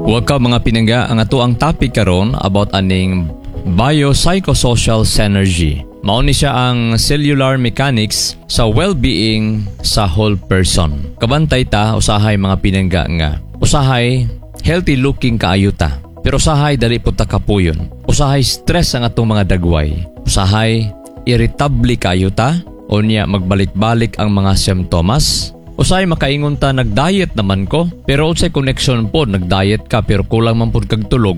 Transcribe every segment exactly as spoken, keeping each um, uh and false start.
Welcome mga pinangga ang ato ang topic karon about aning biopsychosocial synergy. Mao ni siya ang cellular mechanics sa well-being sa whole person. Kabantay ta usahay mga pinangga nga usahay healthy looking kaayo ta. Pero usahay dali pud ta kapuyon. Usahay stress ang atong mga dagway. Usahay irritable kaayo ta unya magbalik-balik ang mga simptomas Usahay makaingon ta nag-diet naman ko, pero unsay connection pod nag-diet ka pero kulang man pud kag tulog.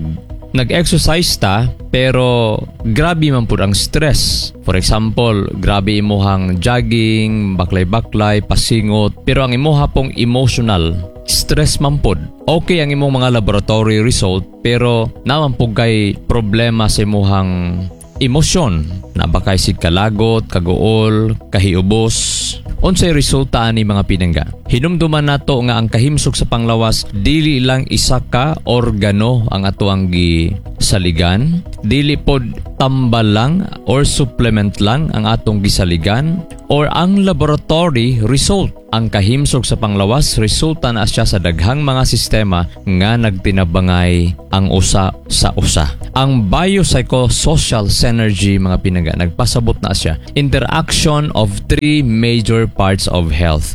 Nag-exercise ta pero grabe man pud ang stress. For example, grabe imuhang jogging, baklay-baklay, pasingot, pero ang imuha pong emotional stress man pod. Okay ang imong mga laboratory result pero naa man pud kay problema sa imuhang emosyon. Naa ba kay sig kalagot, kaguol, kahiubos. Unsay resulta ani mga pinangga? Hinumduman nato nga ang kahimsog sa panglawas dili lang isa ka organo ang ato ang gisaligan, dili pod tambal lang or supplement lang ang atong gisaligan or ang laboratory result. Ang kahimsog sa panglawas resulta na siya sa daghang mga sistema nga nagtinabangay ang usa sa usa. Ang biopsychosocial synergy mga pinangga nagpasabot na siya. Interaction of three major parts of health.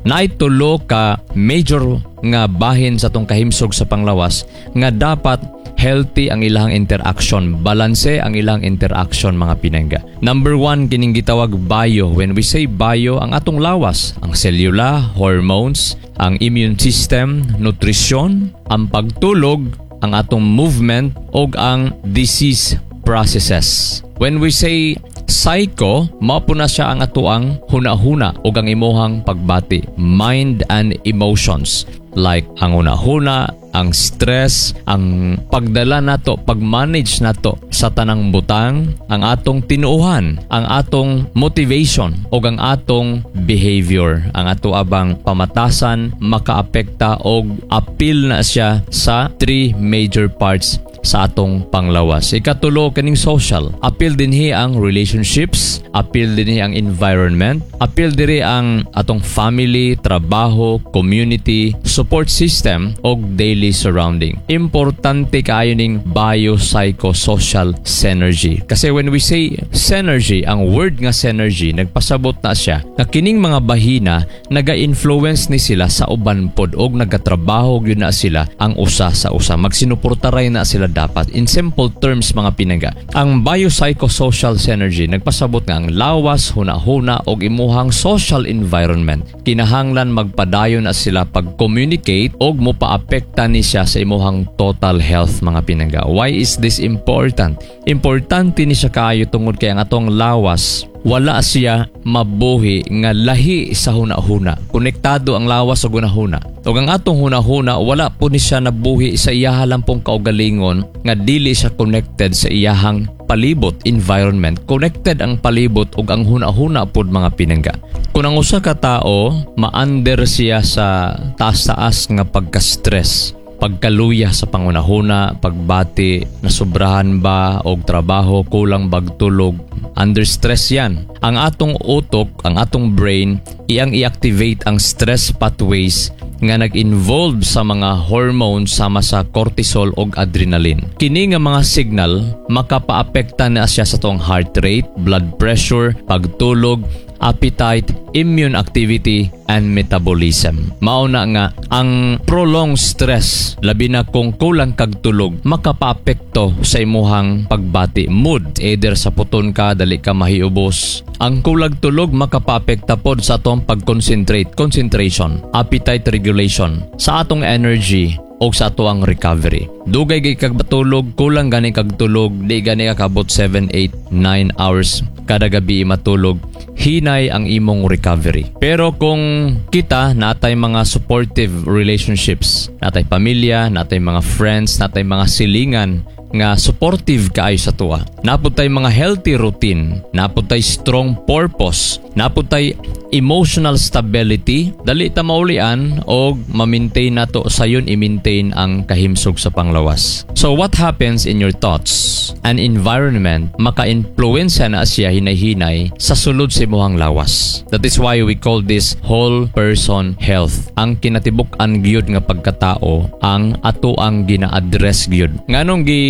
Naay tulo ka major nga bahin sa atong kahimsog sa panglawas nga dapat healthy ang ilang interaction, balanse ang ilang interaction mga pinangga. Number one, kining gitawag bio. When we say bio, ang atong lawas, ang selula, hormones, ang immune system, nutrisyon, ang pagtulog, ang atong movement, ug ang disease processes. When we say psycho, mao po na siya ang atoang huna-huna ug ang imuhang pagbati, mind and emotions. Like ang huna-huna, ang stress, ang pagdala nato, pag-manage nato sa tanang butang, ang atong tinuohan, ang atong motivation ug ang atong behavior, ang ato abang pamatasan makaapekta og apil na siya sa three major parts sa atong panglawas. Ikatulo kaning social. Apil dinhi ang relationships, apil dinhi ang environment, apil diri ang atong family, trabaho, community, support system ug daily surrounding. Importante kaayo ning biopsychosocial synergy. Kasi when we say synergy, ang word nga synergy nagpasabot na siya nga kining mga bahina naga-influence ni sila sa uban pod og nagatrabaho gyud na sila ang usa sa usa. Magsinuportaray na sila dapat. In simple terms mga pinangga, ang biopsychosocial synergy nagpasabot nga ang lawas, huna-huna og imuhang social environment. Kinahanglan magpadayon na sila pag-communicate og mopaapekta ni siya sa imuhang total health mga pinangga. Why is this important? Importante ni siya kaayo tungod kay ang atong lawas wala siya mabuhi nga lahi sa huna-huna. Konektado ang lawas sa hunahuna. Ug ang atong huna-huna wala po ni siya nabuhi sa iyaha lang pong kaugalingon nga dili siya connected sa iyahang palibot environment. Connected ang palibot ug ang huna-huna pod mga pinangga. Kung ang usa ka tawo ma-under siya sa taas-taas nga pagka-stress, pagkaluya sa panghunahuna, pagbati, nasubrahan ba og trabaho, kulang bag tulog, under stress yan. Ang atong utok, ang atong brain, iyang i-activate ang stress pathways nga nag-involve sa mga hormones sama sa cortisol ug adrenaline. Kini nga mga signal makapaapekta na siya sa atong heart rate, blood pressure, pagtulog, appetite, immune activity, and metabolism. Mao na nga ang prolonged stress labi na kung kulang kag tulog makapaapekto sa imuhang pagbati mood either saputon ka dali ka mahiubos ang kulag tulog makapaapekta pod sa atong pag-concentrate concentration appetite regulation sa atong energy o sa atoang recovery. Dugay gay kag matulog, kulang gani kag tulog, di gani ka kabot seven, eight, nine hours kada gabi matulog, hinay ang imong recovery. Pero kung kita natay mga supportive relationships, natay pamilya, natay mga friends, natay mga silingan nga supportive kaayo sa tuwa. Naa pod tay mga healthy routine, naa pod tay strong purpose, naa pod tay mga Naa pud tay emotional stability, dali ta maulian og ma-maintain nato sayon i-maintain ang kahimsog sa panglawas. So what happens in your thoughts and environment maka-influensya na siya hinay-hinay sa sulod sa imong lawas. That is why we call this whole person health. Ang kinatibuk-an gyud nga pagkatao ang ato ang gina-address gyud. Nganong gi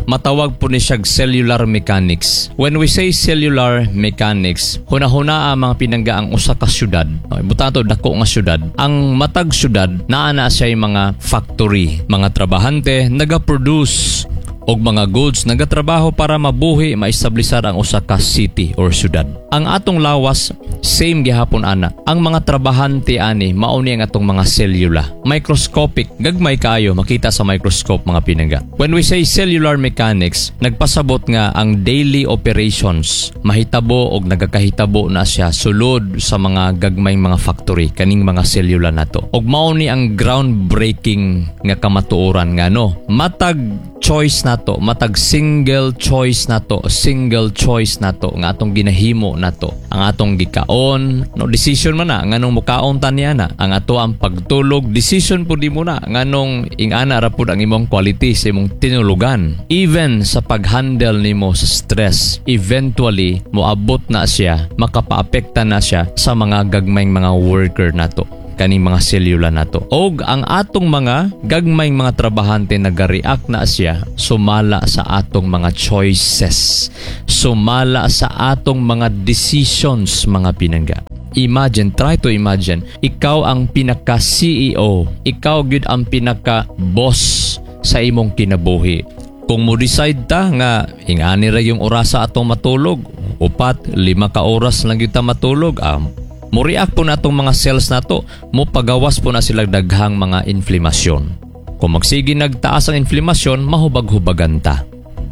matawag po ni siya cellular mechanics. When we say cellular mechanics, hunahuna ang mga pinangga ang usa ka syudad. Okay, butang to dako nga syudad. Ang matag syudad naa na siya mga factory, mga trabahante naga-produce og mga goods nagatrabaho para mabuhi maestablisar ang usa ka city or syudad. Ang atong lawas same gihapon ana. Ang mga trabahante ani mao ni ang atong mga selula. Microscopic, gagmay kaayo makita sa microscope mga pinangga. When we say cellular mechanics, nagpasabot nga ang daily operations mahitabo og nagakahitabo na siya sulod sa mga gagmayng mga factory kaning mga selula nato. Og mao ni ang groundbreaking nga kamatuoran nga no, matag choice nato, matag single choice nato, single choice nato nga atong ginahimo nato. Ang atong gikaon, no decision man na nganong mukaon ta niya na. Ang ato ang pagtulog, decision pud mo na nganong ingana ra pud ang imong quality sa imong tinulugan. Even sa pag-handle nimo sa stress, eventually moabot na siya, makapaapekta na siya sa mga gagmayng mga worker nato kaning mga selula nato. Og ang atong mga gagmayng mga trabahante nagareact na siya sumala sa atong mga choices, sumala sa atong mga decisions mga pinangga. Imagine, try to imagine, ikaw ang pinaka CEO, ikaw gyud ang pinaka boss sa imong kinabuhi. Kung mo decide ta nga ingani ra yung orasa atong matulog, upat, lima ka oras lang gyud ta matulog, um, mo react po na atong mga cells nato, mo pagawas po na sila daghang mga inflamasyon. Kung magsige nagtaas ang inflamasyon, mahubag-hubagan ta.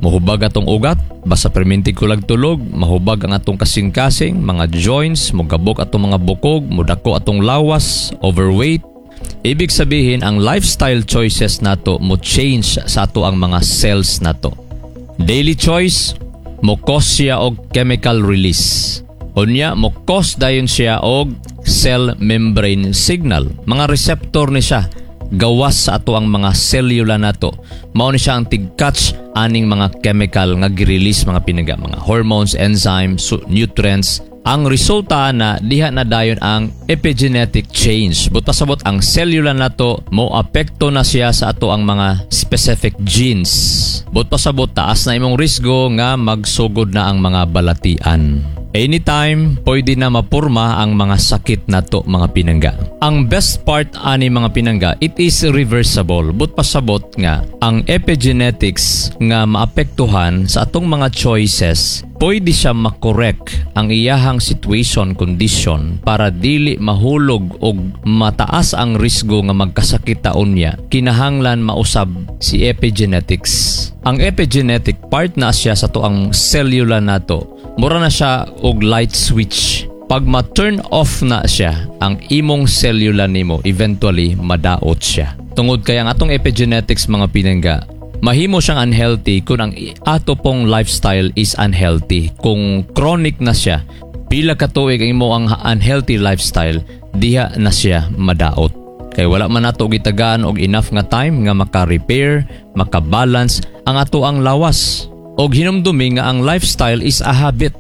Mohubag atong ugat, basta perminti kulag tulog, mahubag ang atong kasing-kasing, mga joints, mogabok atong mga bukog, mudako atong lawas, overweight. Ibig sabihin, ang lifestyle choices nato mo change sa ato ang mga cells nato. Daily choice, mo cause siya og chemical release. Unya, mo cause dayon siya og cell membrane signal. Mga receptor ni siya gawas sa ato ang mga selula nato. Mao ni siya ang tig-catch aning mga chemical nga gi-release mga pinangga, mga hormones, enzymes, nutrients. Ang resulta na diha na dayon ang epigenetic change. Buot pasabot ang selula nato mo apekto na siya sa ato ang mga specific genes. Buot pasabot taas na imong risgo nga magsugod na ang mga balatian. Anytime, pwede na mapurma ang mga sakit nato mga pinangga. Ang best part ani mga pinangga, it is reversible. Buot pasabot nga ang epigenetics nga maapektuhan sa atong mga choices, pwede siya makorek ang iyahang situation condition para dili mahulog og mataas ang risgo nga magkasakit ta unya. Kinahanglan mausab si epigenetics. Ang epigenetic part na siya sa to ang cellular nato. Mura na siya og light switch. Pag ma-turn off na siya, ang imong cellular nimo eventually madaot siya. Tungod kay ang atong epigenetics mga pinangga, mahimo siyang unhealthy kung ang ato pong lifestyle is unhealthy. Kung chronic na siya, pila ka tuig ang imo ang unhealthy lifestyle, diha na siya madaot. Kay wala man nato gitagaan og enough nga time nga maka-repair, maka-balance ang ato ang lawas. Og hinumdumi nga ang lifestyle is a habit.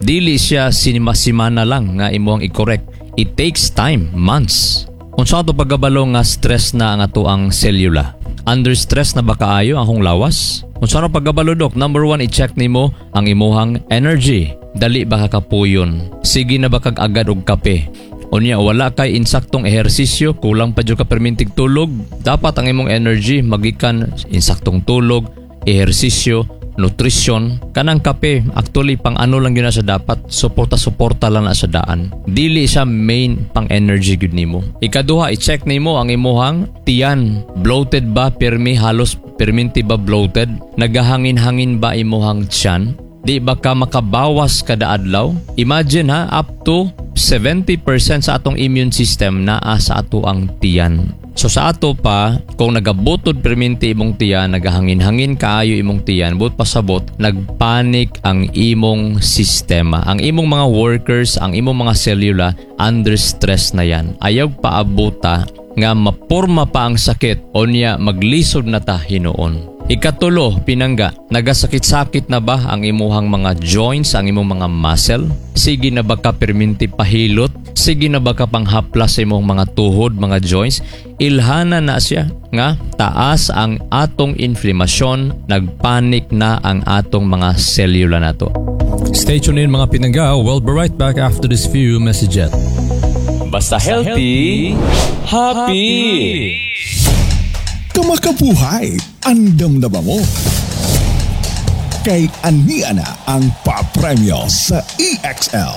Dili siya sinima-simana lang nga imo ang i-correct. It takes time, months. Unsa ato pagkabalo nga stress na ang ato ang selula? Under stress na ba kaayo ang akong lawas? Unsa ra pagkabalo dok? Number one, i-check nimo ang imuhang energy. Dali ba ka kapuyon? Sige na ba kag agad og kape? Unya wala kay insaktong ehersisyo, kulang pa jud ka permintig tulog. Dapat ang imong energy magikan insaktong tulog, ehersisyo, nutrition. Kanang kape, actually pang ano lang yun na siya dapat, suporta-suporta lang na sa daan. Dili siya main pang energy gud nimo. Ikaduha, i-check nimo ang imuhang tiyan. Bloated ba pirmi halos pirminti ba bloated? Nagahangin-hangin ba imuhang tiyan? Di ba ka makabawas kada adlaw? Imagine ha, up to seventy percent sa atong immune system naa sa ato ang tiyan. So sa ato pa, kung nagabutod perminti imong tiyan, nagahangin-hangin kaayo imong tiyan, buot pasabot, nagpanik ang imong sistema. Ang imong mga workers, ang imong mga selula, under stress na yan. Ayaw paabuta nga mapurma pa ang sakit o niya maglisod na ta hinuon. Ikatulo, pinangga, nagasakit-sakit na ba ang imuhang mga joints, ang imong mga muscle? Sige na ba ka perminti pahilot? Sige na ba ka panghaplas sa imong mga tuhod, mga joints? Ilhana na siya nga taas ang atong inflamasyon, nagpanik na ang atong mga selula nato. Stay tuned in mga pinangga. We'll be right back after this few messages. Basta healthy, happy. Kamakabuhay, andam na ba mo? Kay ania na ang papremyo sa EXL.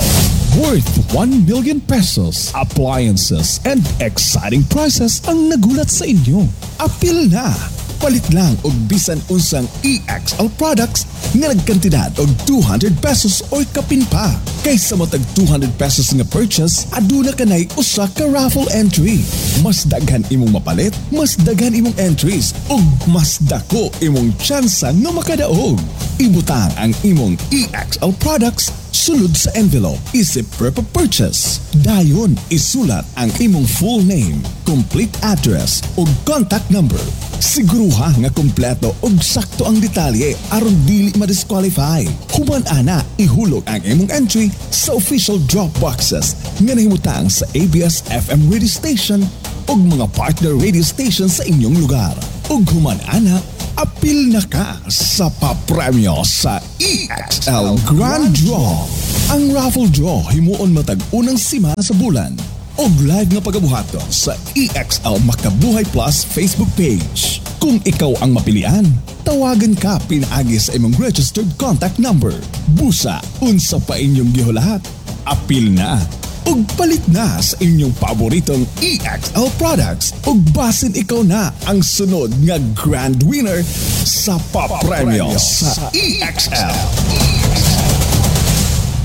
Worth one million pesos, appliances, and exciting prizes ang nagulat sa inyo. Apil na! Palit lang og bisan unsang EXL products nga nagkantidad og two hundred pesos or kapin pa. Kaysa matag two hundred pesos nga purchase, aduna kanay usa ka raffle entry. Mas daghan imong mapalit, mas daghan imong entries ug mas dako imong tsansa nga makadaog. Ibutang ang imong EXL products sulod sa envelope isip proof of purchase. Dayon isulat ang imong full name, complete address ug contact number. Siguruha nga kompleto ug sakto ang detalye aron dili ma-disqualify. Human ana, ihulog ang imong entry sa official drop boxes nga nahimutang sa ABS FM radio station ug mga partner radio station sa inyong lugar. Ug human ana, apil na ka sa papremyo sa EXL Grand Draw. Ang raffle draw himuon matag unang simana sa bulan og live nga pagabuhaton sa EXL Makabuhay Plus Facebook page. Kung ikaw ang mapilian, tawagan ka pinaagi sa imong registered contact number. Busa, unsa pa inyong gihulahat? Apil na ug palit na sa inyong paboritong EXL products ug basin ikaw na ang sunod nga grand winner sa papremyo sa EXL.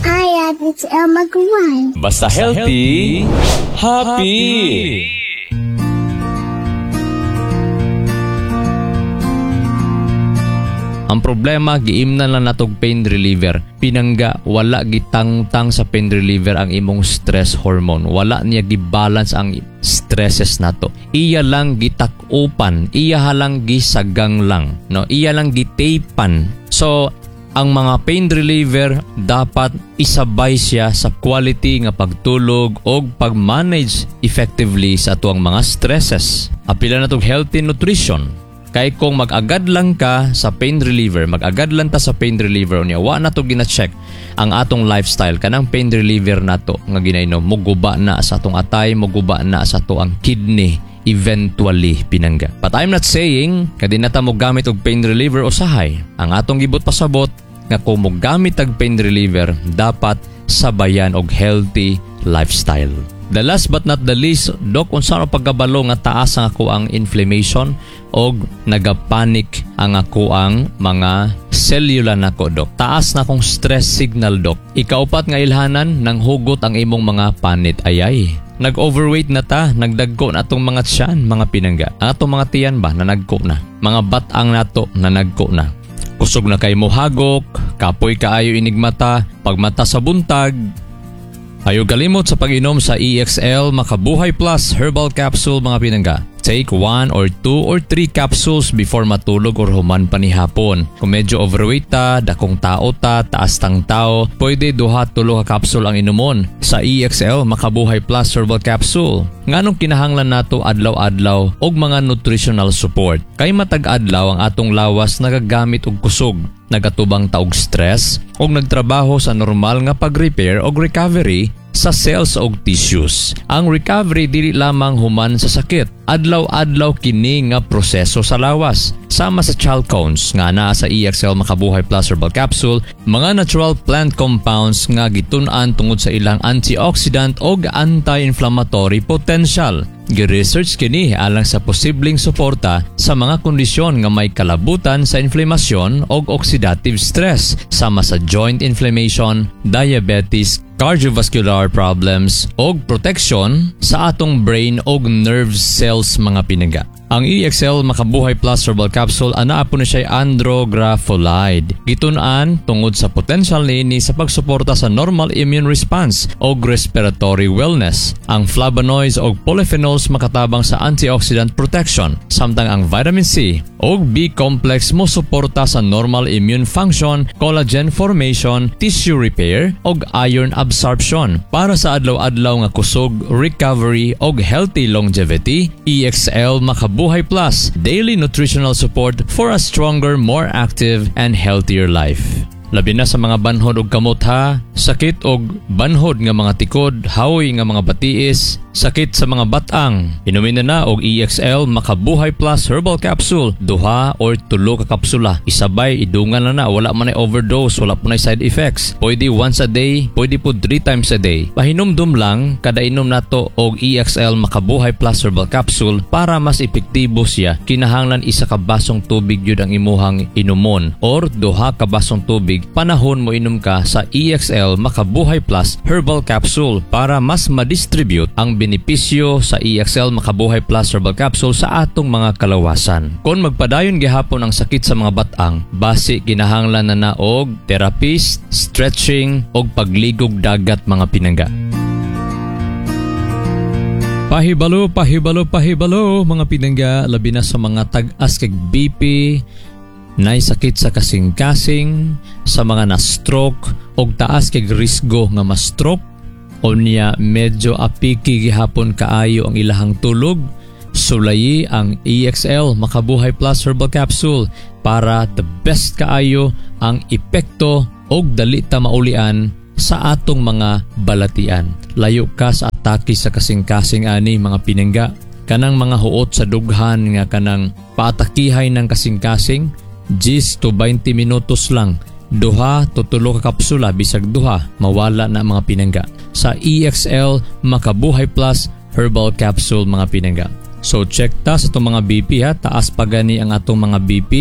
Hi, it's Elma Guan. Basta healthy, happy. Ang problema, giimnan lang natog pain reliever. Pinangga, wala gitangtang sa pain reliever ang imong stress hormone. Wala niya gibalance ang stresses nato. Iya lang gitakupan, iya lang gisagang lang, no? Iya lang gitapan. So, ang mga pain reliever dapat isabay siya sa quality nga pagtulog o pag-manage effectively sa atuang mga stresses. Apila na tog healthy nutrition. Kay kung mag-agad lang ka sa pain reliever, mag-agad lang ta sa pain reliever unya wa na to gina-check ang atong lifestyle kanang pain reliever nato nga ginainom muguba na sa atong atay, muguba na sa ato ang kidney eventually pinangga. But I'm not saying nga di na ta mo gamit og pain reliever usahay. Ang atong gibot pasabot nga kung mo gamit og pain reliever dapat sabayan og healthy lifestyle. The last but not the least, Dok, unsa ang pagkabalo nga taas ang ako ang inflammation og nagapanik ang ako ang mga selula nako, Dok. Taas na akong stress signal, Dok. Ikaupat nga ilhanan, nang hugot ang imong mga panit. Ayay. Nag-overweight na ta, nagdagko na atong mga tiyan, mga pinangga. Ang atong mga tiyan ba, nanagko na. Mga batang nato, nanagko na. Kusog na kay mo hagok, kapoy kaayo inigmata, pagmata sa buntag, Ayaw kalimot sa pag-inom sa EXL Makabuhay Plus Herbal Capsule mga pinangga. Take one or two or three capsules before matulog or human panihapon. Kung medyo overweight ta, dakong tao ta, taas tang tao, pwede duha tulo ka capsule ang inumon sa EXL Makabuhay Plus Herbal Capsule. Nganong kinahanglan nato adlaw-adlaw og mga nutritional support? Kay matag adlaw ang atong lawas nagagamit og kusog nagatubang ta og stress og nagtrabaho sa normal nga pag-repair og recovery sa cells og tissues. Ang recovery dili lamang human sa sakit. Adlaw-adlaw kini nga proseso sa lawas. Sama sa chalcones nga naa sa EXL Makabuhay Plus Herbal Capsule, mga natural plant compounds nga gitun-an tungod sa ilang antioxidant og anti-inflammatory potential. Gi-research kini alang sa posibleng suporta sa mga kondisyon nga may kalabutan sa inflamasyon og oxidative stress sama sa joint inflammation, diabetes, Cardiovascular problems og protection sa atong brain og nerve cells, mga pinangga. Ang E X L Makabuhay Plus Herbal Capsule, anaa po na siya andrographolide. Gitun-an tungod sa potential niini sa pagsuporta sa normal immune response og respiratory wellness. Ang flavonoids og polyphenols makatabang sa antioxidant protection, samtang ang vitamin C og B complex mo suporta sa normal immune function, collagen formation, tissue repair og iron absorption. Para sa adlaw-adlaw nga kusog, recovery og healthy longevity, E X L Makabuhay Plus, daily nutritional support for a stronger, more active and healthier life. Labi na sa mga banhod og kamot ha, sakit og banhod nga mga tikod, haoy nga mga batiis, sakit sa mga batang. Inumin na na og E X L Makabuhay Plus Herbal Capsule, duha or tulo ka kapsula. Isabay idungan na na, wala man ay overdose, wala po na side effects. Pwede once a day, pwede po three times a day. Pahinumdum lang kada inom nato og E X L Makabuhay Plus Herbal Capsule, para mas epektibo siya, kinahanglan isa ka basong tubig yun ang imuhang inumon or duha ka basong tubig panahon mo inom ka sa E X L Makabuhay Plus Herbal Capsule para mas ma-distribute ang benepisyo sa E X L Makabuhay Plus Herbal Capsule sa atong mga kalawasan. Kung magpadayon gihapon ang sakit sa mga batang, basi kinahanglan na na og therapist, stretching og pagligog dagat, mga pinangga. Pahibalo, pahibalo, pahibalo, mga pinangga, labi na sa mga tag-as kag B P, nay sakit sa kasing-kasing, sa mga na-stroke og taas kag risgo nga ma-stroke, unya medyo apiki gihapon kaayo ang ilahang tulog, sulayi ang E X L Makabuhay Plus Herbal Capsule para the best kaayo ang epekto og dali ta maulian sa atong mga balatian. Layo ka sa atake sa kasing-kasing ani, mga pinangga. Kanang mga huot sa dughan nga kanang paatakihay ng kasing-kasing, ten to twenty minutos lang. Duha to tulo ka kapsula, bisag duha, mawala na, mga pinangga, sa E X L Makabuhay Plus Herbal Capsule, mga pinangga. So check ta sa itong mga B P ha, taas pa gani ang atong mga B P,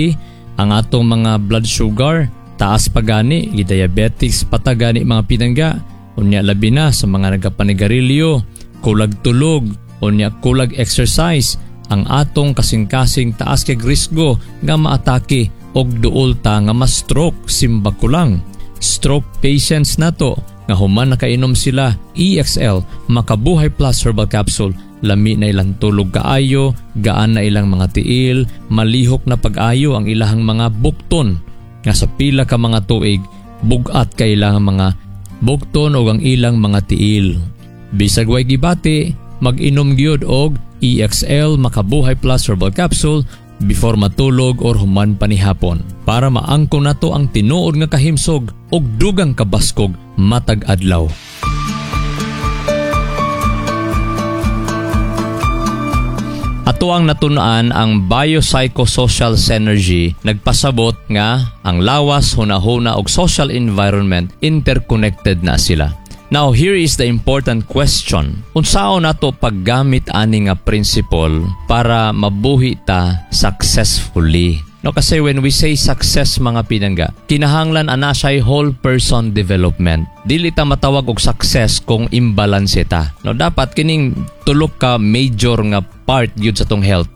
ang atong mga blood sugar, taas pa gani, diabetics pa ta gani, mga pinangga. Unya labi na sa mga nagapanigarilyo, kulag tulog, unya kulag exercise, ang atong kasing-kasing taas kay risgo nga maatake og duol ta nga ma-stroke, simba ko lang. Stroke patients nato nga human nakainom sila E X L Makabuhay Plus Herbal Capsule, lami na ilang tulog kaayo, gaan na ilang mga tiil, malihok na pag-ayo ang ilahang mga bukton nga sa pila ka mga tuig bugat kay ilang mga bukton o ang ilang mga tiil. Bisag way gibati, mag-inom gyud og E X L Makabuhay Plus Herbal Capsule before matulog or human panihapon para maangko nato ang tinuod nga kahimsog og dugang kabaskog matag adlaw. Ato ang natun-an, ang biopsychosocial synergy nagpasabot nga ang lawas, hunahuna ug social environment, interconnected na sila. Now, here is the important question. Unsaon nato paggamit ani nga principle para mabuhi ta successfully? No, kasi when we say success, mga pinangga, kinahanglan ana siya whole person development. Dili ta matawag og success kung imbalance ta. No, dapat kining tulo ka major nga part gyud sa tong health: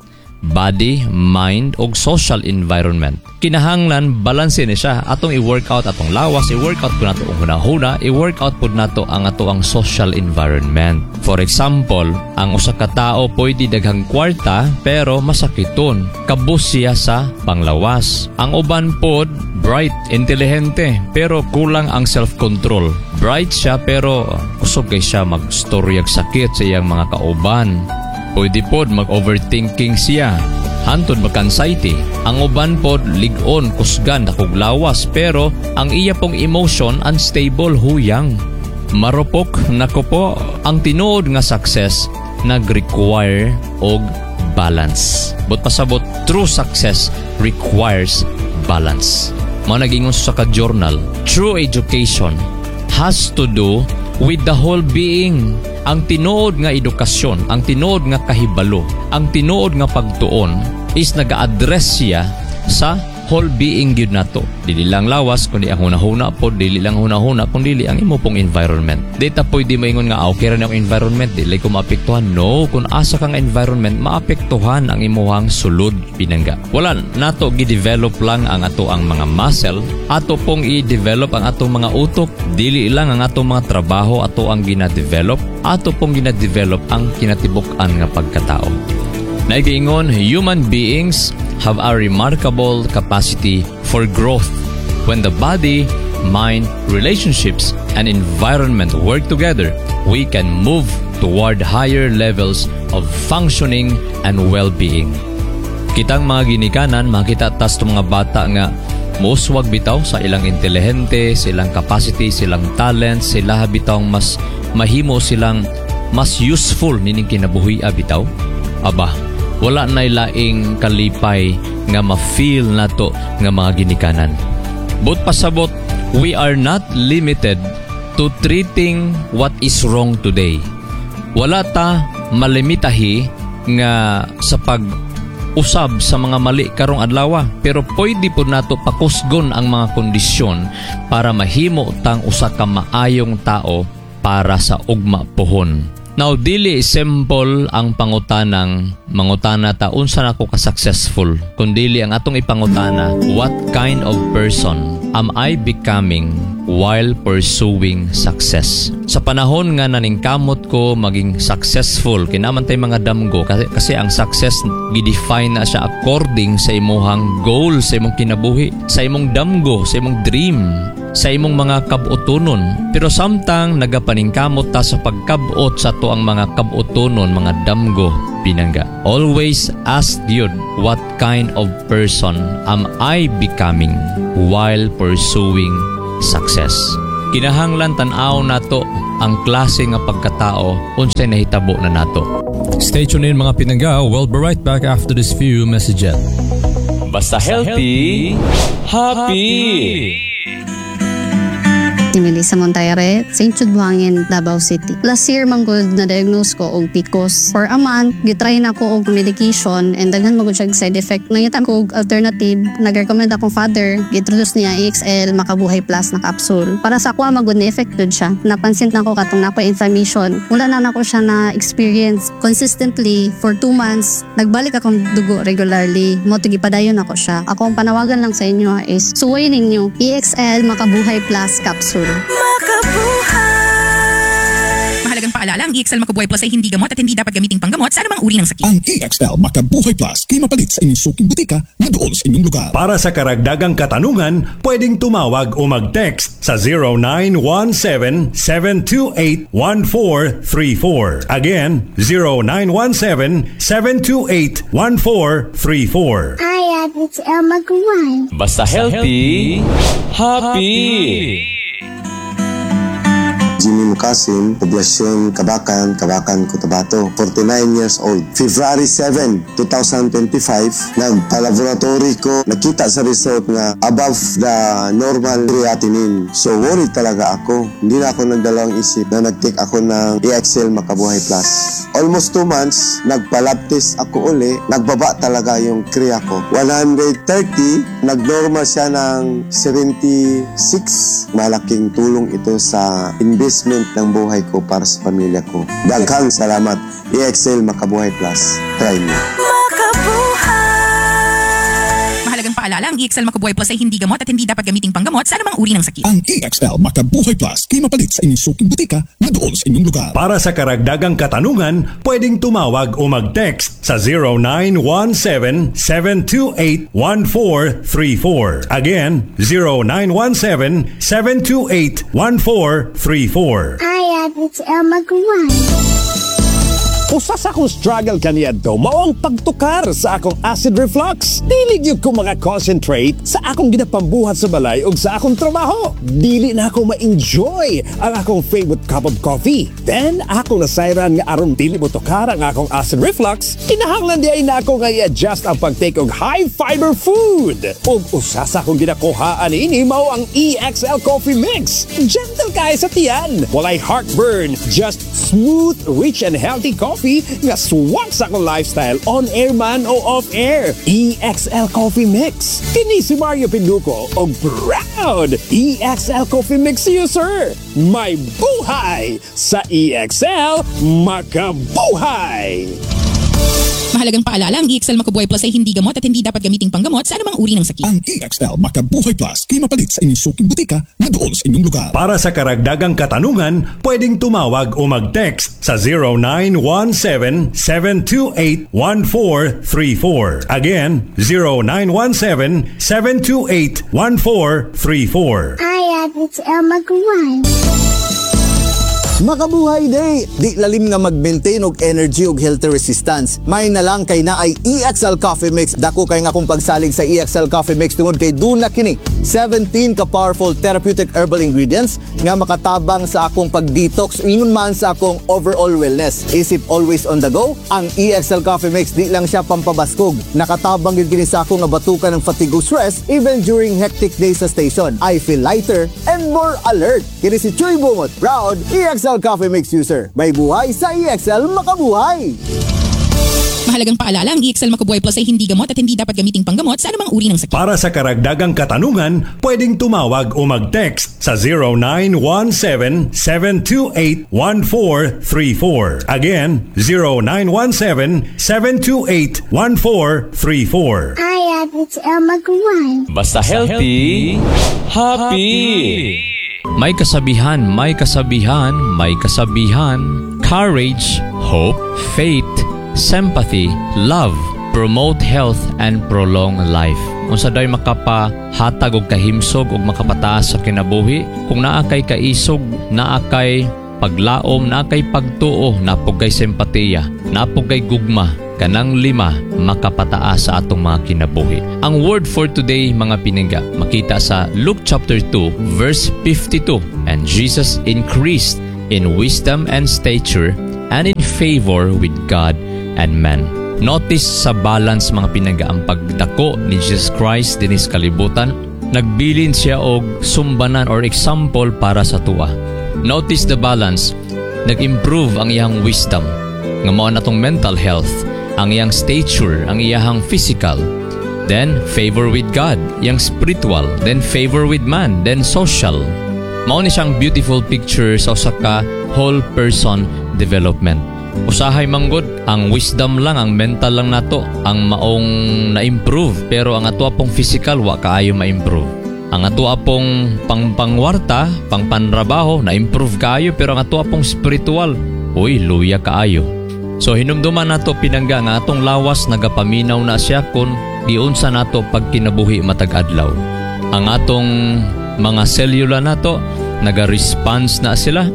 body, mind, ug social environment. Kinahanglan balanse ni siya. Atong i-workout atong lawas, i-workout po nato ang hunahuna, i-workout po nato ang ato ang social environment. For example, ang usa ka tao pwede daghang kwarta pero masakiton. Kabus siya sa panglawas. Ang uban pod bright, intelihente, pero kulang ang self-control. Bright siya pero kusog kay siya magstoryag sakit sa iyang mga kauban. Pwede pod mag-overthinking siya. Hantod mag-anxiety. Ang uban pod lig-on, kusgan, dakog lawas, pero ang iya pong emotion unstable, huyang. Marupok, nako po, ang tinuod nga success nag-require og balance. But pasabot, true success requires balance. Mao nagingon sa ka journal, true education has to do with the whole being. Ang tinuod nga edukasyon, ang tinuod nga kahibalo, ang tinuod nga pagtuon is nag-address siya sa whole person. Whole being gyud nato. Dili lang lawas kundi ang hunahuna po, dili lang hunahuna kundi ang imo pong environment. Di ta pwede maingon nga, "Ah, okay ra na ang environment, dili ko maapektuhan." No, kung asa kang environment, maapektuhan ang imuhang sulod, pinangga. Wala nato gi-develop lang ang ato ang mga muscle, ato pong i-develop ang atong mga utok, dili lang ang atong mga trabaho ato ang gina-develop, ato pong gina-develop ang kinatibuk-an nga pagkatao. Naigiingon, human beings have a remarkable capacity for growth. When the body, mind, relationships, and environment work together, we can move toward higher levels of functioning and well-being. Kitang mga ginikanan, makita tas mga bata nga muuswag bitaw sa ilang intelihente, silang capacity, silang talent, sila bitaw mas mahimo silang mas useful nining kinabuhi bitaw. Aba, wala na laing kalipay nga ma-feel nato nga mga ginikanan. But pasabot, we are not limited to treating what is wrong today. Wala ta malimitahi nga sa pag usab sa mga mali karong adlaw, pero pwede po nato pakusgon ang mga kondisyon para mahimo tang usa ka maayong tao para sa ugma pohon. Now, dili simple ang pangutanang mangutana ta unsa nako ka successful, kundi ang atong ipangutana, what kind of person am I becoming while pursuing success? Sa panahon nga naningkamot ko maging successful, kinaman tay mga damgo kasi, kasi ang success gi-define na siya according sa imuhang goal sa imong kinabuhi, sa imong damgo, sa imong dream, sa imong mga kabutonon. Pero samtang nagapaningkamot ta sa pagkabot sa ato ang mga kabutonon, mga damgo, pinangga. Always ask yun, what kind of person am I becoming while pursuing success? Kinahanglan tan-aw nato ang klase nga pagkatao unsay nahitabo na nato. Stay tuned in, mga pinangga. We'll be right back after this few messages. Basta healthy, happy. Ni Melissa Montaire, Saint Jude Buhangin, Davao City. Last year man gud na-diagnose ko og P C O S. For a month, gitry na ko og medication and daghan man gud siya side effect. Nangita ko og alternative, nag-recommend akong father, gi-introduce niya E X L Makabuhay Plus na capsule. Para sa ako man gud ni effect gud siya. Napansin na ko katong napo inflammation. Wala na nako siya na experience consistently for two months. Nagbalik akong dugo regularly. Mao to gipadayon ako siya. Ako ang panawagan lang sa inyo is suway ninyo E X L Makabuhay Plus capsule. Mahalagang paalala, ang E X L Makabuhay Plus ay hindi gamot at hindi dapat gamiting panggamot sa anumang uri ng sakit. Ang E X L Makabuhay Plus kay mapalit sa inyong suking butika nga duol sa inyong lugar. Para sa karagdagang katanungan, pwedeng tumawag o mag-text sa zero nine one seven, seven two eight, one four three four. Again, zero nine one seven, seven two eight, one four three four. I am L Magwan. Basta healthy, happy. Jimmy Mukasim, Poblasyon Kabakan, Kabakan, Cotabato, forty-nine years old. February seven, twenty twenty-five, nagpa-laboratory ko, nakita sa result nga above the normal creatinine. So worried talaga ako. Hindi na ako nagdalawang isip na nag-take ako ng E X L Makabuhay Plus. Almost two months, nagpa-lab test ako uli, nagbaba talaga yung crea ko. one hundred thirty, nag-normal siya ng seventy-six. Malaking tulong ito sa investment ng buhay ko para sa pamilya ko. Daghang salamat. E X L Makabuhay Plus. Try mo. Mahalagang paalala, ang E X L Makabuhay Plus ay hindi gamot at hindi dapat gamiting panggamot sa anumang uri ng sakit. Ang E X L Makabuhay Plus kay mapalit sa inyong suking butika nga duol sa inyong lugar. Para sa karagdagang katanungan, pwedeng tumawag o mag-text sa zero nine one seven, seven two eight, one four three four. Again, zero nine one seven, seven two eight, one four three four. I am L Magwan. Usa sa akong struggle kaniadto mao ang pagtukar sa akong acid reflux. Dili gyud ko maka-concentrate sa akong ginapambuhat sa balay ug sa akong trabaho. Dili na ako ma-enjoy ang akong favorite cup of coffee. Then akong nasayran nga aron dili mo tukar ang akong acid reflux, kinahanglan diay na ako nga i-adjust ang pag-take og high fiber food. Ug usa sa akong ginakuhaan ini mao ang E X L Coffee Mix. Gentle kaayo sa tiyan. Walay heartburn, just smooth, rich and healthy coffee. coffee nga swak sa akong lifestyle on air man o off air. E X L Coffee Mix. Kini si Mario Pinduko og proud E X L Coffee Mix user. May buhay sa E X L Makabuhay! Mahalagang paalala, ang E X L Makubuhay Plus ay hindi gamot at hindi dapat gamiting panggamot sa anumang uri ng sakit. Ang E X L Makabuhay Plus kay mapalit sa inyong suking butika na dool sa inyong lugar. Para sa karagdagang katanungan, pwedeng tumawag o mag-text sa zero nine one seven, seven two eight, one four three four. Again, zero nine one seven, seven two eight, one four three four. I F H L Mag one. Makabuhay day! Di lalim nga mag-maintain og energy ug healthy resistance. May na lang kay naay E X L Coffee Mix. Dako kay nga akong pagsalig sa E X L Coffee Mix tungod kay duna kini seventeen ka powerful therapeutic herbal ingredients nga makatabang sa akong pag-detox ingon man sa akong overall wellness. Isip always on the go, ang E X L Coffee Mix di lang siya pampabaskog. Nakatabang gyud kini sa ako nga batukan ng fatigue ug stress even during hectic days sa station. I feel lighter and more alert. Kini si Chuy Bungot, proud E X L Coffee Mix user. May buhay sa E X L Makabuhay! Mahalagang paalala, ang E X L Makubuhay Plus ay hindi gamot at hindi dapat gamiting panggamot sa anumang uri ng sakit. Para sa karagdagang katanungan, pwedeng tumawag o mag-text sa zero nine one seven, seven two eight, one four three four. Again, zero nine one seven, seven two eight, one four three four. I F H L Mag one. Basta healthy, happy. May kasabihan, may kasabihan, may kasabihan. Courage, hope, faith, sympathy, love, promote health and prolong life. Unsa day makapahatag og kahimsog ug makapataas sa kinabuhi? Kung naa kay kaisog, naa kay paglaom, naa kay pagtuo, naa pud kay simpatiya, naa pud kay gugma, kanang lima makapataas sa atong mga kinabuhi. Ang word for today, mga pinangga, makita sa Luke chapter two verse fifty-two. "And Jesus increased in wisdom and stature and in favor with God and man." Notice sa balance, mga pinangga, ang pagdako ni Jesus Christ dinis kalibutan, nagbilin siya og sumbanan or example para sa atoa. Notice the balance. Nag-improve ang iyang wisdom nga mao na tong mental health, ang iyang stature, ang iyang physical. Then favor with God, iyang spiritual, then favor with man, then social. Mao ni siyang beautiful picture sa usa ka whole person development. Usahay manggod, ang wisdom lang, ang mental lang nato, ang maong na-improve, pero ang ato pong physical wa kaayo ma-improve. Ang ato pong pangpangwarta, pangpanrabaho, na-improve kaayo, pero ang ato pong spiritual, uy, luya kaayo. So hinumduman nato, pinangga, nga atong lawas nagapaminaw na siya kung giunsa nato pagkinabuhi matag adlaw. Ang atong mga selula nato naga-response na sila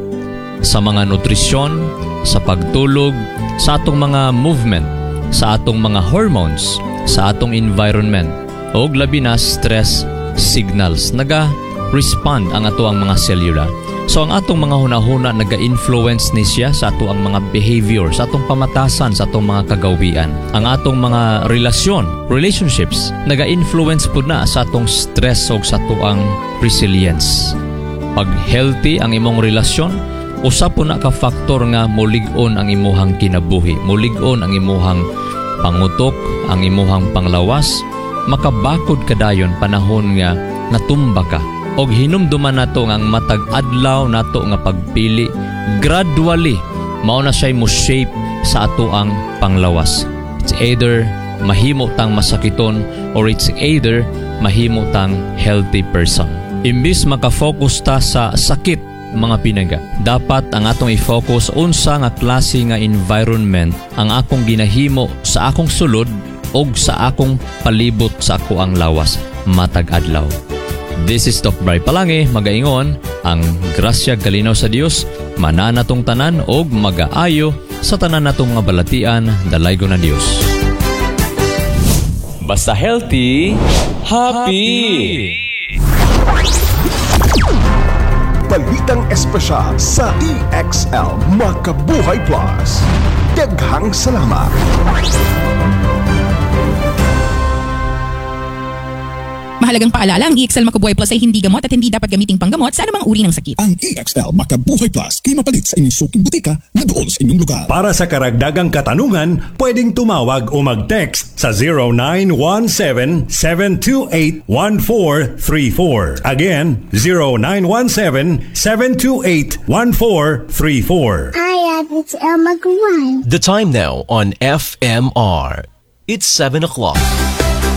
sa mga nutrisyon, sa pagtulog, sa atong mga movement, sa atong mga hormones, sa atong environment, og labi na stress signals. Naga-respond ang ato ang mga selula. So ang atong mga hunahuna naga-influence ni siya sa ato ang mga behavior, sa atong pamatasan, sa atong mga kagawian. Ang atong mga relasyon, relationships, naga-influence pud na sa atong stress o sa ato ang resilience. Pag healthy ang imong relasyon, usa po na ka factor nga mulig-on ang imuhang kinabuhi, mulig-on ang imuhang pangutok, ang imuhang panglawas, makabakod kadayon panahon nga natumba ka. Og hinumduman nato nga ang matag adlaw nato nga pagpili, gradually mao na siya mo shape sa ato ang panglawas. It's either mahimo tang masakiton or it's either mahimo tang healthy person. Imbis makafocus ta sa sakit, mga pinangga, dapat ang atong i-focus unsa nga klase nga environment ang akong ginahimo sa akong sulod og sa akong palibot sa ako ang lawas matag adlaw. This is Doc Bry Palange, magaingon, ang grasya galinaw sa Dios, mananatong tanan og magaayo sa tanan natong mga balatian, dalaygon ng Dios. Basta healthy, happy. Balitang espesyal sa E X L Makabuhay Plus. Daghang salamat. Mahalagang paalala, ang E X L Makubuhay Plus ay hindi gamot at hindi dapat gamiting panggamot sa anumang uri ng sakit. Ang E X L Makabuhay Plus kay mapalit sa inyong suking butika na duol sa inyong lugar. Para sa karagdagang katanungan, pwedeng tumawag o mag-text sa zero nine one seven, seven two eight, one four three four. Again, zero nine one seven, seven two eight, one four three four. I am X L Mag one. The time now on F M R. It's seven o'clock.